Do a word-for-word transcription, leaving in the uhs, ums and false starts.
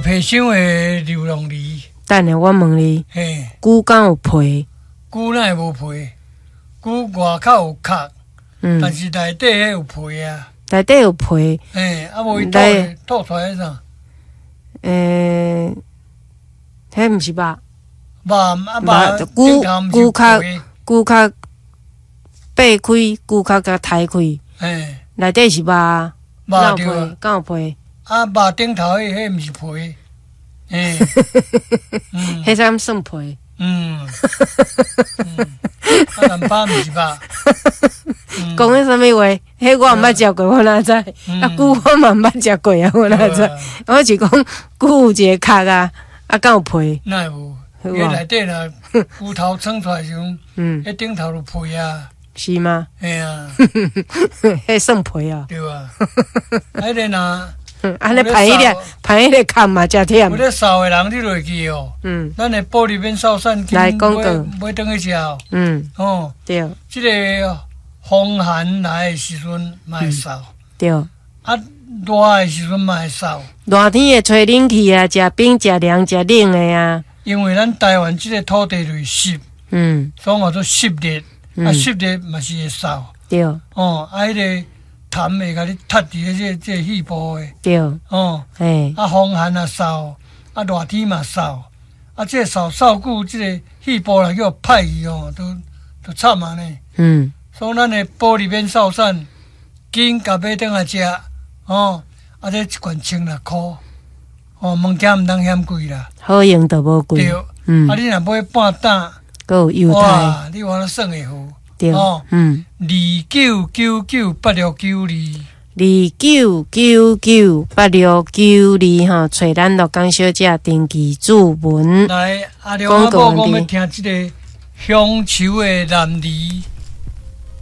皮箱的流浪儿。等下我問你，嘿，龜敢有皮？龜哪會無皮？龜外口有殼，嗯，但是內底彼有皮啊。內底有皮。嘿，啊無伊吐吐出來啥？欸，彼毋是肉。肉啊肉，龜龜殼龜殼擘開，龜殼共刣開。嘿，內底是肉。肉對。敢有皮？啊，肉頂頭彼彼毋是皮。嘿，彼才算皮。嗯，啊，南巴毋是肉。講彼啥物話？彼我毋捌食過，我哪知？啊，龜我嘛毋捌食過啊，我哪知？我是講龜有一个殼啊，啊，敢有皮？哪會無？伊內底若龜頭創出來時陣，嗯，彼頂頭就皮啊。是嗎？嘿啊，彼算皮啊。對啊。啊，彼个若。按呢排彼个排彼个殼嘛，誠忝。有咧掃的人，你就會記哦。嗯。咱的保利免瘦散，來廣告。買轉去食哦。嗯。哦。對。這个風寒來的時陣嘛會瘦。對。啊，熱的時陣嘛會瘦。熱天會吹冷氣啊，食冰食涼食冷的啊。因為咱台灣這个土地就是濕。嗯。所以叫做濕熱，啊濕熱嘛是會瘦。對。哦，啊彼个痰會共你塞佇咧這這个肺部的。對。哦。嘿。啊，風寒也瘦，啊，熱天嘛瘦，啊，這个瘦瘦久，這个肺部若叫歹去哦，都都慘啊呢。嗯。所以咱的保利免瘦散，緊共買轉來食，哦，啊，這一罐千六箍，哦，物件毋通嫌貴啦。好用就無貴。對。嗯。啊，你若買半擔，閣有猶太。哇，你換了算會好。對。哦。嗯。二九九九八六九二。二九九九八六九二吼，揣咱鹿港小姐陳記注文。來，阿良阿某講欲聽這个鄉愁的男兒。